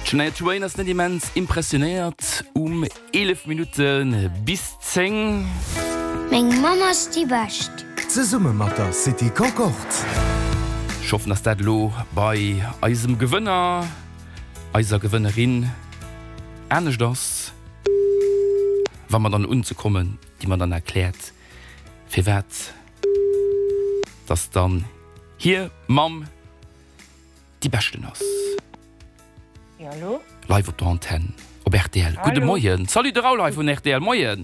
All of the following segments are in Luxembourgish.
D'Shania Twain ass net immens impressionéiert um 11 Minutte bis 10. Meng Mamm ass déi Bescht. Zesumme mat der City Concorde. Ech hoffen, dass dat elo bei eisem Gewënner, eiser Gewënnerin anescht ass, wa mer dann unzekommen, déi mer dann erkläert, firwat dass dann hir Mamm déi Beschten ass. Jo, hallo. Live op der Antenn op rtl. Gudde Moien. Salut, de Raoul hei vun rtl. Moien.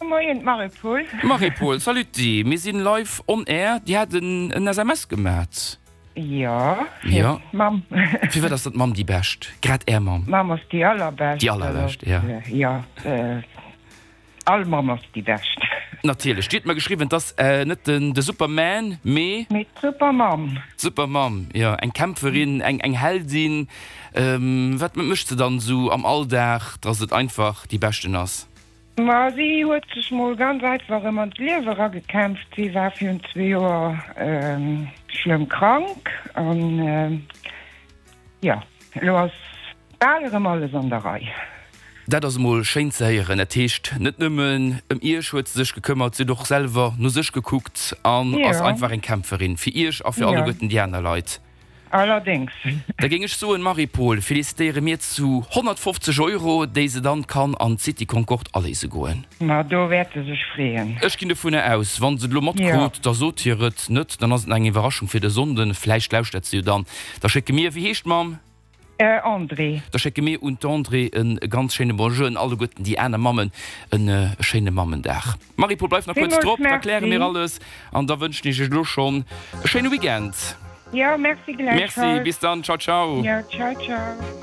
Moien, d'Marie-Paule. Marie-Paule, salut. Mir sinn live on air. Dir hat en SMS gemat. Jo, fir d'Mamm. Firwat ass dann d'Mamm déi Bescht? Grad Är Mamm? D'Mamm ass déi allerbescht. Déi allerbescht, jo. Jo. All Mamm ass déi bescht. Natierlech. Dir hutt mer geschriwwen, et ass net den de Superman, mee. Mee d'Supermamm. D'Supermamm, jo. Eng Kämpferin, eng eng Heldin. Wat mécht se dann esou am Alldag, dass et einfach déi beschten ass? Ma si huet sech mol ganz einfach erëm an d'Liewe eragekämpft. Si war virun zwee Joer schlëmm krank an. Jo, elo ass bal erëm alles an der Rei. Dat ass emol schéin ze héieren. Dat heescht, net nëmmen ëm Iech huet se sech gekëmmert, si huet och selwer no sech gekuckt an ass einfach eng Kämpferin fir Iech a fir alleguerten déi aner Leit. Allerdéngs. Da géing ech soen, Marie-Paule, felicitéiere mir zu 150 Euro, déi se dann kann an d'City Concorde aléise goen. Ma do wäert se sech freeën. Ech ginn dovunner aus, wa se et elo matkrut, da sot hir et net, dann ass et nach eng Iwwerraschung fir de Sonnden. Vläicht lauschtert se jo dann. Da schécke mir, wéi heescht d'Mamm? Andrée. Da schécke mir un d'Andrée e ganz schéine Bonjour, an alleguerten déi aner Mammen e schéine Mammendag. Marie-Paule, bleif nach kuerz drop, da kläre mir alles an da wënschen ech iech elo schonn e schéine Weekend. Jo, merci gläichfalls. Merci, bis dann, ciao, ciao. Jo, ciao, ciao.